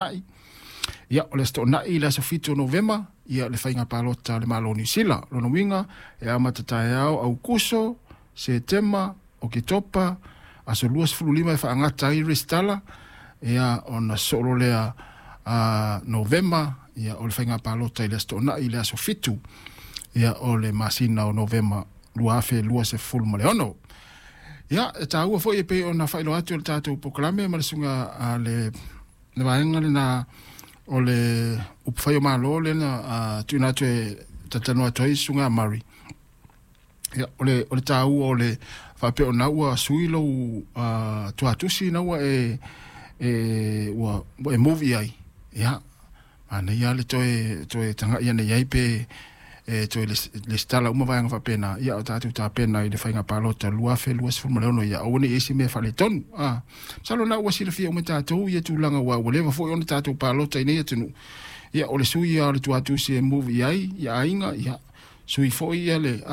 Ia, o le Aso Toonai le aso 7 o Novema, ia le faiga palota a le Malo o Niu Sila. Lona uiga, e amata taeao Aukuso, Setema, Oketopa, aso 25 e faagata ai le resitala, ia ona sosoo loa lea Novema, ia o le faiga palota i le Aso Toonai le aso 7, ia o le masina o Novema 2026. Ia, e taua foi e pei ona faailoa atu e le tatou polokalame ma le susuga a le vaega lena o le upufai o Malo lea na tuuina atu e talatalanoa atu ai le susuga a Murray. Ia, o le taua o le faapea o lena ua sui lou tuatusi na ua e move i ai, ia, manaia lava le toe tagai ane i ai pe e toe resitala uma vaega faapena, ia a o tatou tapena i le faiga palota 2026, ia aua ne i i ai se mea faaletonu. Masalo o lena ua silafia uma e tatou ia tulaga aua ua leva foi ona tatou palota i nei atunuu. Ia o le sui lava o le tuatusi e move i ai ia aiga, ia sui foi ia le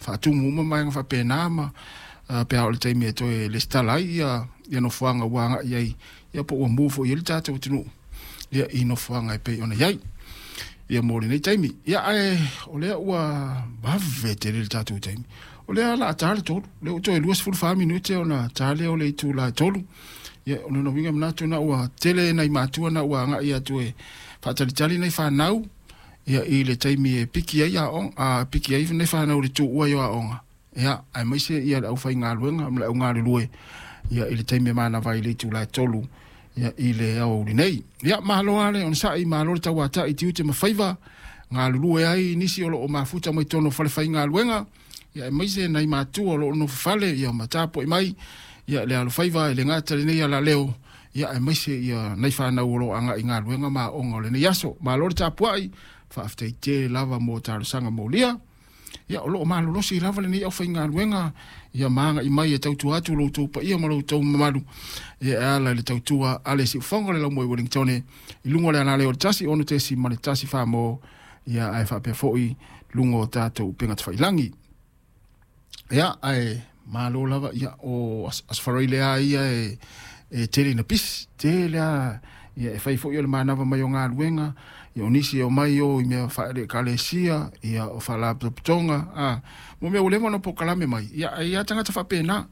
faatumu uma vaega faapena ma pe a oo i le taimi e toe resitala ai ia nofoaga ua agai i ai, ia po ua move foi i ai le tatou atunuu ia i nofoaga e pei ona i ai ia mo lenei taimi. Ia ae o lea ua vave tele le tatou taimi. O lea o le a ta le 3, lea ua toe 24 minute ona ta lea o le itula e 3. Ia o lona uiga manatu na ua tele nai matua na ua agai atu e faatalitali nai fanau ia i le taimi e piki ai aoga, piki ai nai fanau i le tuua i aoga. Ia aemaise ia le aufaigaluega ma le au galulue ia i le taimi e manava ai i le itula e 3 ia i le aoauli nei. Ia malo lava le onosai, malo le tauatai i tiute ma faiva, galulue ai nisi o lo o mafuta mai totonu o falefaigaluega, ia aemaise nai matua o lo o nofo fale ia ma tapuai mai ia le alofaiva e le gata i lenei alaleo, ia aemaise ia nai fanau o lo o agai i galuega ma aoga o lenei aso. Malo le tapuai, faafetai tele lava mo talosaga molia. Ia o lo o malolosi lava lenei aufaigaluega ia ma agai mai e tautua atu lo outou paia ma lo outou mamalu ia e ala i le tautua a le siufofoga o le Laumoe Wellingtone i luga o le alaleo o le 1 6.1 Samoa, ia ae faapea foi luga o tatou upega tafailagi. Ia ae malo lava, ia o Aso Faraile lava ia e tele ina pisi, tele lava ia e fai foi o le manava mai o galuega, ia o nisi e omai o i mea faale-ekalesia, ia o faalapotopotoga, mo mea ua leva ona polokalame mai, ia e i ai lava tagata faapena.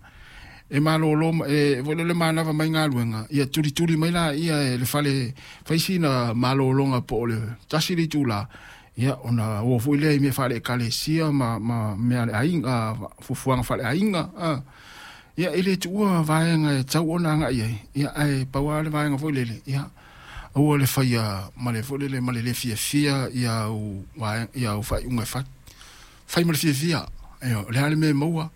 E malolo e foi le manava mai galuega, ia tulituli mai laia e le fale fai sina malologa po o le 1 le itula, ia ona o foi lea i mea faale-ekalesia ma mea a le aiga, fuafuaga faale-aiga. Ia e le tuua vaega e tau ona agai ai, ia ae pau lava le vaega foi lele, ia aua le faia ma le foi lele ma le le fiafia ia au ia au faaiuga e fai. Fai ma le fiafia, ia o le a le mea e maua,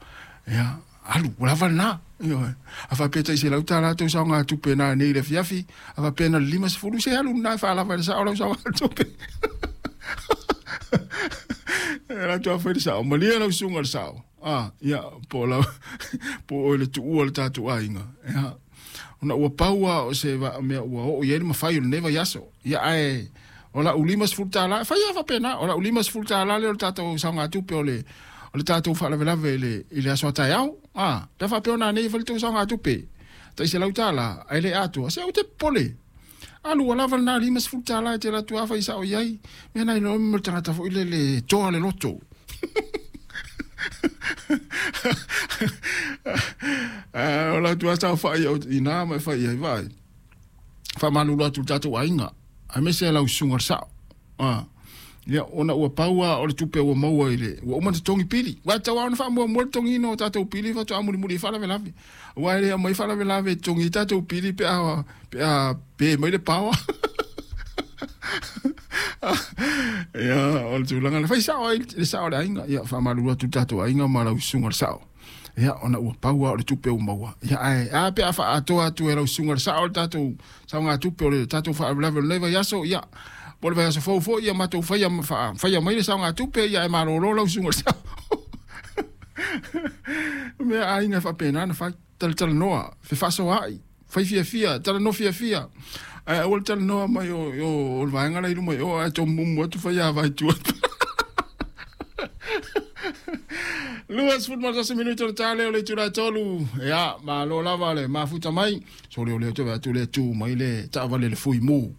ia alu, ua lava lena. Ioe. A faapea tai $100 tou saogatupe na nei i le afiafi, a faapea na o le 50, se alu lena e faalava i le sao lau saogatupe. E alu atu lava fai le sao, malie lau susuga i le sao. Ia, po o lau, po o le tuua o le tatou aiga. Ia, ona ua pau lava o se mea ua oo i ai le mafai o lenei vaiaso. Ia, ae o lau $50, e fai lava faapena, o lau $50 lea o le tatou saogatupe o le tatou faalavelave i le aso a taeao. Pe a faapea o nanei e fai le tou saogatupe, tai $100, ae le atoa, se aua te popole. Alu ua lava lena $50 e te alu atu lava fai sao i ai. Mea na iloa mo le tagata foi lele toa le loto. O la atu lava saofai au i ina ma e fai ai, vaai. Faamalulu atu i le tatou aiga, aemaise lau susuga i le sao. Ia, ona ua pau lava o le tupe ua maua i le, ua uma ona totogi pili. Ua tatau lava ona faamuamua le totogiina o tatou pili faatoa mulimuli ai faalavelave. Aua e le aumai faalavelave e totogi ai tatou pili pe a pe mai le power. Ia, o le tulaga lena. Fai sao ai le sao o le aiga. Ia, faamalulu atu i le tatou aiga ma lau susuga i le sao. Ia, ona ua pau lava o le tupe ua maua. Ia, ae a pe a faaatoa atu e lau susuga i le sao le tatou saogatupe o le tatou faalavelave o lenei vaiaso, ia, po o le vaiaso fou foi, ia matou faia, faia mai le saogatupe, ia ae malolo lau susuga i le sao. Mea aiga e faapena ona fai. Talatalanoa, fefaasoaai, fai fiafia, talanoa fiafia. Ae aua le talanoa mai o le vaega la i luma i o, ae tomumu atu fai ava i tua. 21 minute o le ta lea o le itula e 3. Ia, malo lava le mafuta mai. Sole o lea te atu le tu mai le taavale le fui mu.